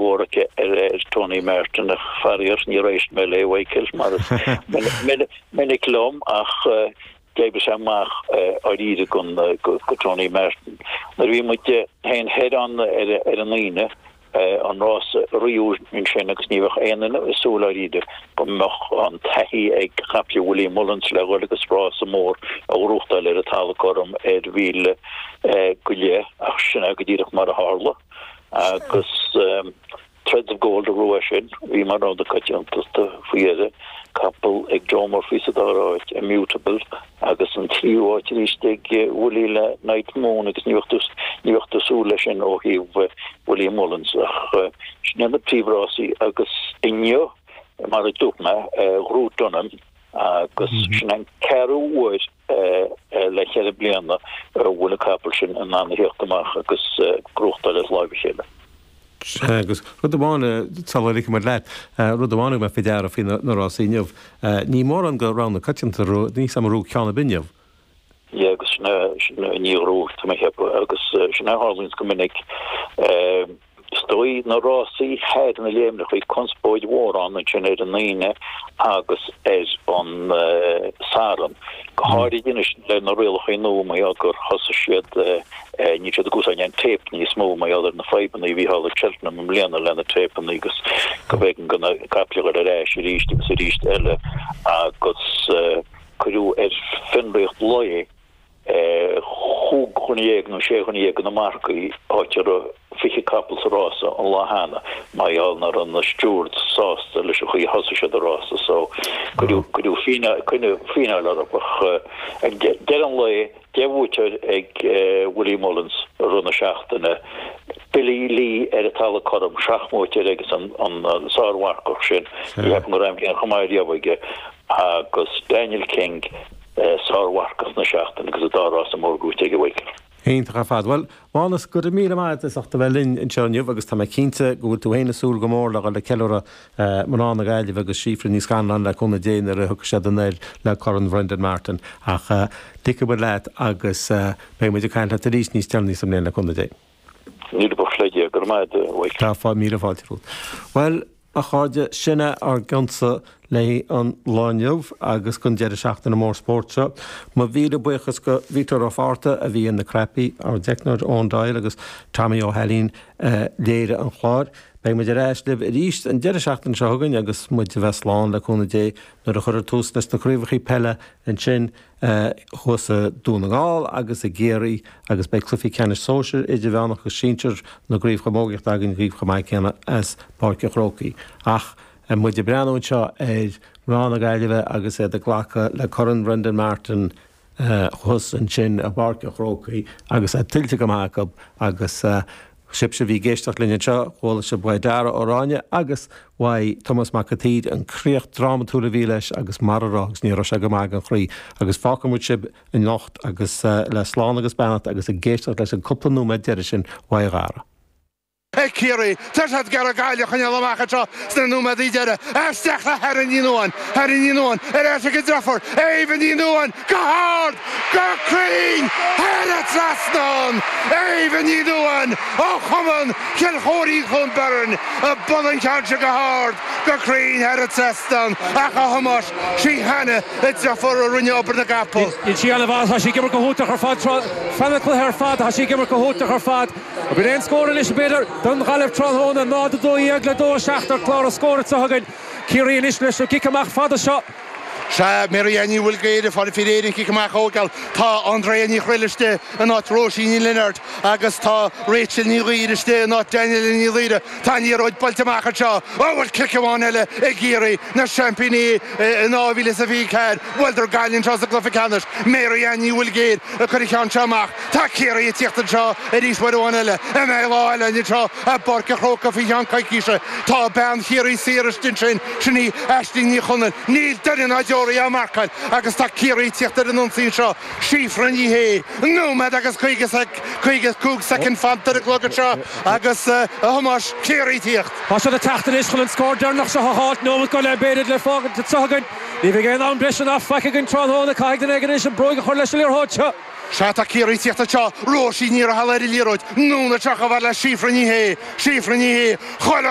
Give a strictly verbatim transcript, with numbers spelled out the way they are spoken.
mhór aici ar Tony Martin ach faraor níor éist mé léi Michael mar is minic liom ach d'oibrigh sé amach dáiríre go go Tony Martin. Nuair a bhí muid féin thoir ann ar ar an Aoine an rás riú ansin agus ní bheadh aon duine ag súil dáiríre go mbeadh an taithí ag caiple Willie Mullins le dhul agus rása mór a ghnóthachtáil ar an talamh cothrom ar mhíle go leith ach sin é go díreach mar a tharla agus Threads of Gold a bhuaigh sin, bhí mar rogha coitianta faoi dheireadh, capall ag Joe Murphy sa dara háit, Immutable, agus an tríú háit arís ag Willie le Night Moon agus ní bheadh tú ní bheadh tú ag súil leis sin ó thaobh Willie Mullins ach sin iad na príomhrásaí agus inniu mar a dúirt mé ghnóthaigh Dunham agus sin an ceathrú huair le ceithre bliana a bhfuil an capall sin in ann a theacht amach agus gnóthachtáil as láimh a chéile. Sea, agus rud amháin, sula ligfidh muid leat, rud amháin a thug mé faoi deara faoi na rásaí inniu, ní mórán de rogha na coitianta, níl a fhios agam ar ghnóthaigh ceann ar bith inniu. Yeah, agus sin é, sin é, níor ghnóthaigh, tá mé ag ceapadh, agus sin é a tharlaíonns go minic. Is dóigh na rásaí thoir na léimneacha, bhí conspóid mhór ann ansin ar an Aoine agus ar an Satharn, go háirid anois le na rialacha nua mar gheall gur thosaigh siad, níl siad ag úsáid an tape níos mó mar gheall ar na fadhbanna a bhí thall ag Cheltenham i mbliana le na téipeanna agus go mb'éigean do na caiple dhul ar ais arís agus arís eile agus cuireadh ar fionraíocht lae chúig dhuine dhéag nó sé dhuine dhéag de na marcaigh, áit a raibh fiche capall sa rása an lá cheana, mar gheall nach raibh na stewards sásta leis an chaoi a thosaigh siad an rása so cuireadh fíneáil orthu ach ag deireadh an lae deich mbuaiteoir ag Willie Mullins i rith na seachtaine, Billy Lee ar an talamh cothrom, seacht mbuaiteoir agus an sármharcach sin, ní cheapaim go raibh aon chomh maith riamh aige, agus Daniel King, Sármharcach na seachtaine agus an dá rása mór gnóthaithe aige Michael. Iontach ar fad. Bhuel, Mánus, go raibh míle maith agat as ucht a bheith linn anseo inniu agus tá mé cinnte go bhfuil tú féin ag súil go mór le dhul ag ceiliúradh mná na Gaillimhe agus Síofra Ní Scanláin le cúnamh Dé nuair a thiocfaidh siad anoir le Corn Bhrendan Martin. Ach ligfidh muid leat agus beidh muid ag caint leat arís níos deireanaí sa mbliain le cúnamh Dé. Míle buíochas le Dia. Go raibh maith agat, a Mhichael. Tá míle fáilte romhat. Bhuel, A chairde, sin é ár gcionn-sa le an lá inniu agus don deireadh seachtaine mór spóirt seo. Mo mhíle buíochas go Vítear Ó Fátharta a bhí ar na cnaipí, ár dteicneoir Eoin Doyle agus Tommy Ó hAilín a léirigh an clár. Beidh muid ar ais libh arís an deireadh seachtaine seo chugainn agus muid a bheith slán le cúnamh Dé nuair a chuirfear tús leis na craobhacha peile ansin thuas i Dún na nGall agus i gCiarraí agus beidh cluichí ceannais sóisir, idirmheánach agus sinsir na gcraobh chamógaíochta againn dhaoibh chomh maith céanna as Páirc an Chrócaigh. Ach muid ag breathnú anseo ar mhná na Gaillimhe agus iad ag glacadh le Corn Brendan Martin thuas ansin i bPáirc an Chrócaigh agus é tuillte go maith acu agus Sibhse a bhí ag éisteacht linn anseo, chuala sibh uaidh Dara Ó Ráinne agus uaidh Tomás Mac an tSaoir an críoch drámatúil a bhí leis agus mar a raibh agus ní raibh sé go maith don chroí. Agus fágfaidh muid sibh anocht agus le slán agus beannacht agus ag éisteacht leis an cúpla nóiméad deiridh sin uaidh Dhara. Ag Ciarraí, tá siad ag iarraidh Gaillimh a choinneáil amach anseo sna nóiméadaí deiridh. Isteach le hErin Ní Nuadháin, Erin Ní Nuadháin ar ais ag a deirfiúr, Éabha Ní Nuadháin go hard, go cruinn thar an trasnán! Éabha Ní Nuadháin ó Chumann Chill Chóirín Chuan Bheirn ag bualadh an ceann seo go hard, go cruinn thar an trasnán ach a Thomáis, sí Hannah a deirfiúr a rinne obair na gcapall. Níl sí an-mhaith, tá sí ag imirt go hiontach ar fad feadh an chluiche ar fad, tá sí ag imirt go hiontach ar fad. B'in é an scór anois, b'fhéidir, don Ghaillimh tráthnóna, náid a dó dhéag le dó a seacht ar chlár na scór anseo againn. Ciarraí anois leis an gcic amach fada seo. Sea, Mary Ann Ní Mhaoilghéire ag fáil faoi réir an chic amach a thógáil. Tá Andrea Ní Chroill istigh in áit Róisín Ní Lionáird agus tá Rachel Ní Ghaoir istigh in áit Daniela Ní Laoire. Tá an liathróid buailte amach anseo. Ó, bhfuil cic amháin eile ag Ciarraí, na seaimpíní in dhá mhíle is a fiche ceathair. Bhuaileadar Gaillimh anseo sa gcluiche ceannais. Mary Ann Ní Mhaoilghéire ag cur an cheann seo amach. Tá Ciarraí ag tíocht anseo arís uair amháin eile. An mbeidh lá eile anseo i bPáirc an Chrócaigh faoi cheann coicíse? Tá bean Chiarraí saor istigh ansin, sin í Aisling Ní Chonaill. Níl duine ná deoraí á marcáil agus tá Ciarraí ag tíocht ar an ionsaí anseo. Síofra Ní Shé, nóiméad agus caoga caoga cúig soicind fanta ar an gclog anseo agus, a Thomáis, Ciarraí ag tíocht. Tá siad ag teacht anois chun an scór deireanach seo a fháilt, nóiméad go leith b'fhéidir le fágaint anseo againn. Ní bheidh aon am breise ná faic againn tráthnóna. Caithfidh duine éigin anois an bróig a chur leis an liathróid seo. Sea tá Ciarraí ag tíocht anseo Róisín Ní Raghallaigh ar an liathróid anonn anseo chomh fada le Síofra Ní Shé Síofra Ní Shé chuile